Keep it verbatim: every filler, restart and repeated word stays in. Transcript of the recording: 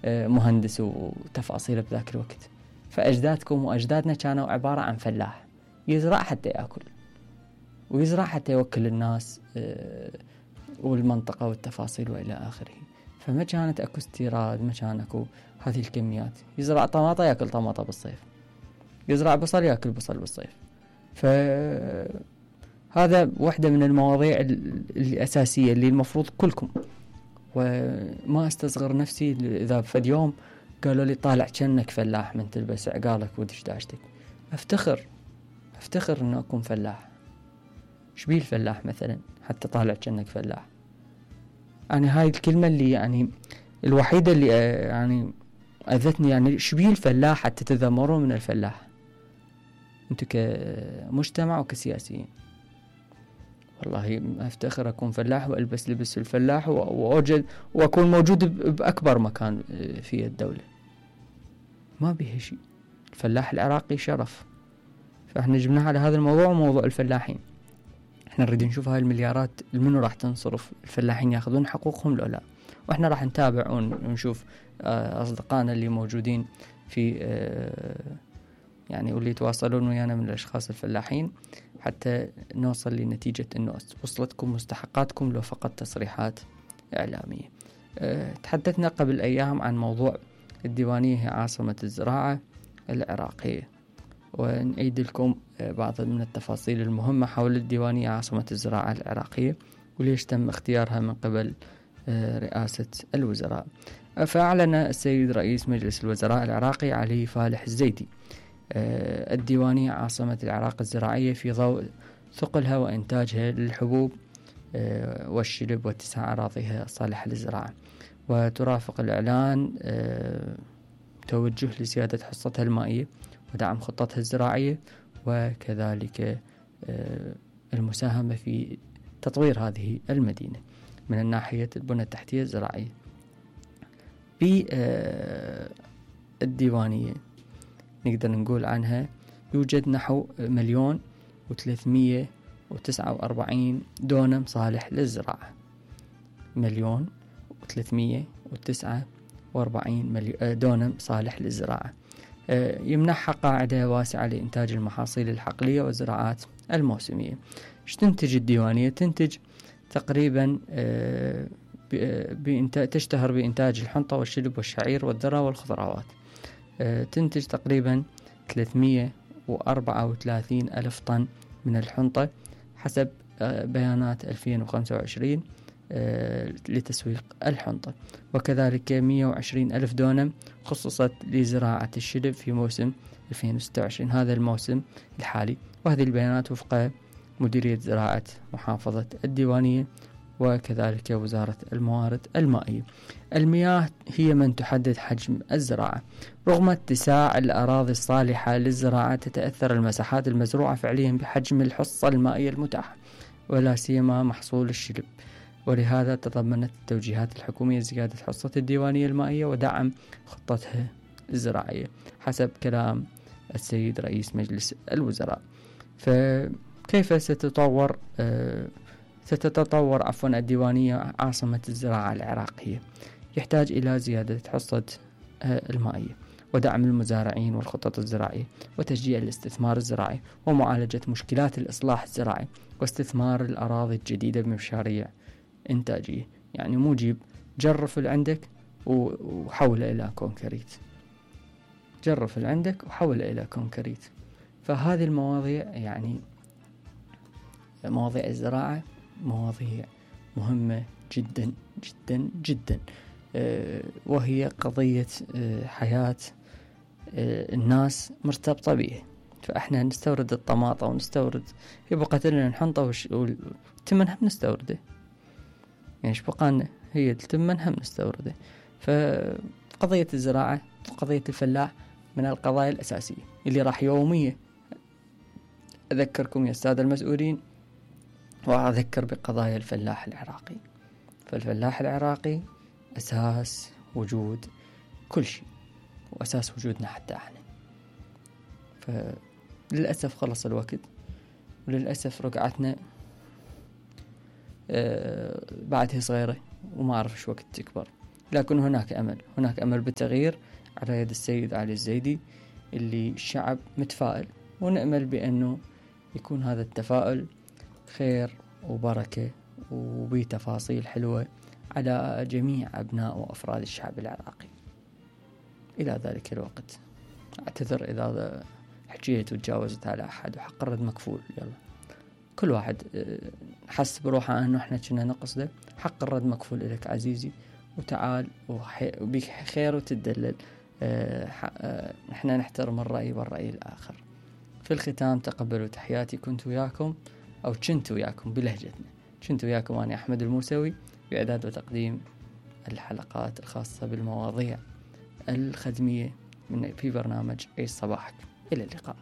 مهندس وتفاصيل بذاك الوقت. فأجدادكم وأجدادنا كانوا عبارة عن فلاح يزرع حتى يأكل ويزرع حتى يوكل الناس والمنطقة والتفاصيل وإلى آخره. فما كانت أكو استيراد، ما كان أكو هذه الكميات. يزرع طماطة يأكل طماطة بالصيف، يزرع بصل يأكل بصل بالصيف. فهذا واحدة من المواضيع الأساسية اللي المفروض كلكم، وما استصغر نفسي إذا في يوم قالوا لي طالع كأنك فلاح من تلبس عقالك ودش داشتك، أفتخر أفتخر أنه أكون فلاح. شبيه الفلاح مثلا حتى طالع كأنك فلاح؟ يعني هاي الكلمة اللي يعني الوحيدة اللي يعني أذتني. يعني شبيه الفلاح حتى تذمرون من الفلاح أنتو كمجتمع وكسياسيين؟ والله أفتخر أكون فلاح وألبس لبس الفلاح وأوجد وأكون موجود بأكبر مكان في الدولة. ما بيه شيء. الفلاح العراقي شرف. فإحنا جبناها على هذا الموضوع، موضوع الفلاحين. إحنا نريد نشوف هاي المليارات المنو راح تنصرف، الفلاحين ياخذون حقوقهم لو لا. وإحنا راح نتابع ونشوف أصدقائنا اللي موجودين في يعني واللي يتواصلون ويانا من الأشخاص الفلاحين حتى نوصل لنتيجة أنه وصلتكم مستحقاتكم لو فقط تصريحات إعلامية. أه تحدثنا قبل أيام عن موضوع الديوانية هي عاصمة الزراعة العراقية، ونعيد لكم بعض من التفاصيل المهمة حول الديوانية عاصمة الزراعة العراقية وليش تم اختيارها من قبل أه رئاسة الوزراء. فأعلن السيد رئيس مجلس الوزراء العراقي علي فالح الزيدي أه الديوانية عاصمة العراق الزراعية في ضوء ثقلها وإنتاجها للحبوب أه والشلب واتساع أراضيها الصالحة للزراعة. وترافق الإعلان أه توجه لزيادة حصتها المائية ودعم خطتها الزراعية، وكذلك أه المساهمة في تطوير هذه المدينة من الناحية البنى التحتية الزراعية. بالديوانية نقدر نقول عنها يوجد نحو مليون وثلاثمية وتسعة وأربعين دونم صالح للزراعة. مليون وثلاثمية وتسعة وأربعين دونم صالح للزراعة، يمنحها قاعدة واسعة لإنتاج المحاصيل الحقلية والزراعات الموسمية. ايش تنتج الديوانية؟ تنتج تقريبا بإنتاج تشتهر بإنتاج الحنطة والشلب والشعير والذرة والخضروات. تنتج تقريبا ثلاثمية وأربعة وثلاثين ألف طن من الحنطة حسب بيانات ألفين وخمسة وعشرين لتسويق الحنطة، وكذلك مية وعشرين ألف دونم خصصت لزراعة الشلب في موسم ألفين وستة وعشرين، هذا الموسم الحالي. وهذه البيانات وفق مديرية زراعة محافظة الديوانية وكذلك وزارة الموارد المائية. المياه هي من تحدد حجم الزراعة. رغم اتساع الأراضي الصالحة للزراعة تتأثر المساحات المزروعة فعليا بحجم الحصة المائية المتاحة ولا سيما محصول الشلب، ولهذا تضمنت التوجيهات الحكومية زيادة حصة الديوانية المائية ودعم خطتها الزراعية حسب كلام السيد رئيس مجلس الوزراء. فكيف ستتطور آه ستتطور عفوا الديوانية عاصمة الزراعة العراقية؟ يحتاج إلى زيادة حصة المائية ودعم المزارعين والخطط الزراعية وتشجيع الاستثمار الزراعي ومعالجة مشكلات الإصلاح الزراعي واستثمار الأراضي الجديدة بمشاريع إنتاجية. يعني مو جيب جرف اللي عندك وحوله إلى كونكريت، جرف اللي عندك وحوله إلى كونكريت. فهذه المواضيع يعني مواضيع الزراعة مواضيع مهمة جدا جدا جدا، أه وهي قضية أه حياة أه الناس مرتبطة به. فإحنا نستورد الطماطة ونستورد يبقى لنا الحنطة والتمن هم نستورده، يعني إيش بقالنا؟ هي التمن هم نستورده. فقضية الزراعة وقضية الفلاح من القضايا الأساسية اللي راح يوميا أذكركم يا السادة المسؤولين وأذكر بقضايا الفلاح العراقي. فالفلاح العراقي أساس وجود كل شيء وأساس وجودنا حتى احنا. فللأسف خلص الوقت، وللأسف رقعتنا آه بعدها صغيرة وما أعرف إيش وقت تكبر. لكن هناك أمل، هناك أمل بالتغيير على يد السيد علي الزيدي اللي الشعب متفائل، ونأمل بأنه يكون هذا التفاؤل خير وبركة وبتفاصيل حلوة على جميع أبناء وأفراد الشعب العراقي. إلى ذلك الوقت أعتذر إذا حكيت وتجاوزت على أحد، وحق الرد مكفول. يلا كل واحد حس بروحه أنه إحنا كنا نقصده، حق الرد مكفول إليك عزيزي، وتعال وبيك خير وتدلل. إحنا نحترم الرأي والرأي الآخر. في الختام تقبلوا تحياتي، كنت وياكم أو كنت وياكم بلهجتنا، كنت وياكم أنا أحمد الموسوي بإعداد وتقديم الحلقات الخاصة بالمواضيع الخدمية من في برنامج عيش صباحك. إلى اللقاء.